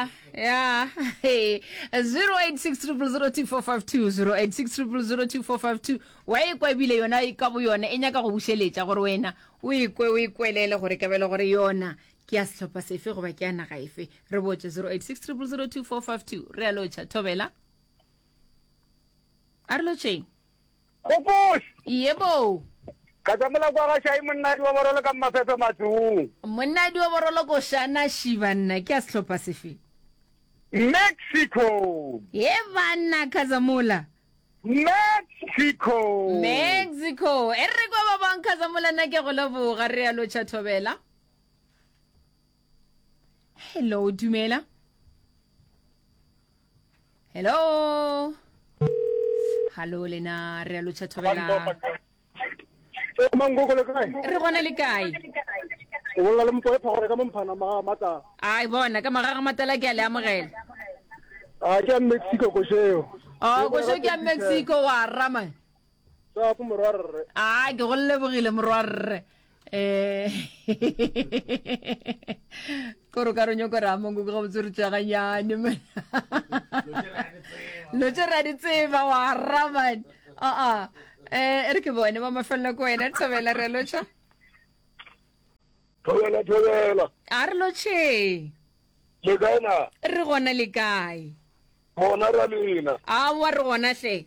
Ya, ya. Hey, 0860002452 0860002452 wa e kwa ebile yona e ka bo yona e nyaka go bušeletša gore wena o ikwe o ikwelele gore ka bele gore yona ke ya sehlopha sefe goba ke ya naga efe re botše 0860002452 re a lotšha thobela a re lotšheng Gopoš! Yebo. Ka tsamela kwa ga Shai monnadi wa borolo ka Mmafefe Matsong. Monnadi wa borolo ko Shana Shi banna ke ya sehlopha sefe? Mexico. Ye banna Khazamola. Mexico. Mexico. E re kwa ba bang Khazamola nna ke go leboga re a lotšha thobela. Hello dumela. Hello. Hallo lena re a lotšha thobela. Mangoko le kae? Re gona le kae? O bolela le mpoe phagore ka momphana maga matala. Ai bona ka magaga matala ke a le amogela. A ke a Mexico košeo. Oh košeo ke a Mexico wa rama. Tsapo morwarre. A ke go lebogile morwarre. Eh Koro ka re nyoko ra mongo go botse re tšaganyane man. Lo tše ra di tseba wa ra man. A a. Eh e re ke bone ba mafelelo ko wena thobela re lotšha. Thobela thobela. A re lotšhe. Le kae na? Re gona le kae? Gona ra lena. Aowa re gona hle.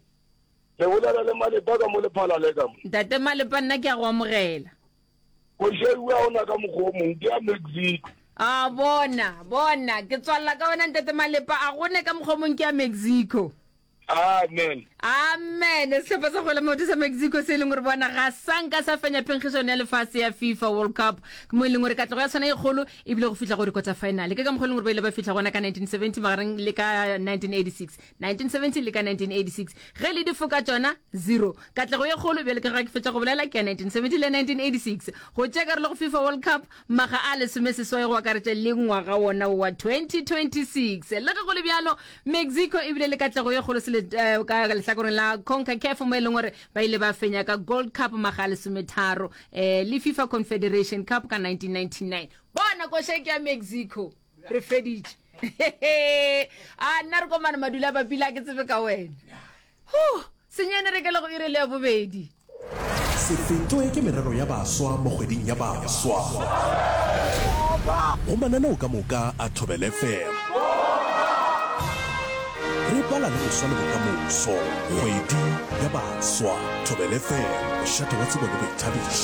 Le bolela le Malepa ka mo Lephalale ka mo. Ntate Malepa nna ke a go amogela. Košeue ga ona ka mokgwa o mongwe ke ya Mexico. A bona, bona, ke tswalela ka wena Ntate Malepa, a gone ka mokgwa o mongwe ke ya Mexico. Amen. Amen. Sehlopha sa kgwele maoto sa Mexico se e leng gore bona ga sa nka sa fenya phenkgišano ya lefase ya FIFA World Cup mo e leng gore katlego ya sona e kgolo e bile go fihla go di-quarter final. Ke ka mokgwa e leng gore ba ile ba fihla gona ka 1970 magareng le ka 1986. 1970 le ka 1986 ge le difoka tšona zero. Katlego ye kgolo bjale ka ga ke fetša go bolela ke ya 1970 le 1986 go tšea karolo go FIFA World Cup Makga a lesomeseswai go akaretša le ngwaga wona wo wa 2026. Le ge go le bjalo, Mexico e bile le katlego ye kgolo sele, eh, ka lehlakoreng la CONCACAF mo e leng gore ba ile ba fenya ka Gold Cup makga a lesometharo eh, le FIFA Confederation Cup ka 1999. Bona koša ke ya Mexico. Re feditše. A nna re komana madula a bapile a ke tsebe ka wena. Huh, senyane re kele go iri le ya bobedi. Se fetwe ke merero ya baswa mo kgweding ya baswa. Go mananeo ka moka a Thobela FM. Re bala le boswa le bokamoso. Kgwedi ya baswa. Thobela FM, mošate wa tsebo le boithabišo.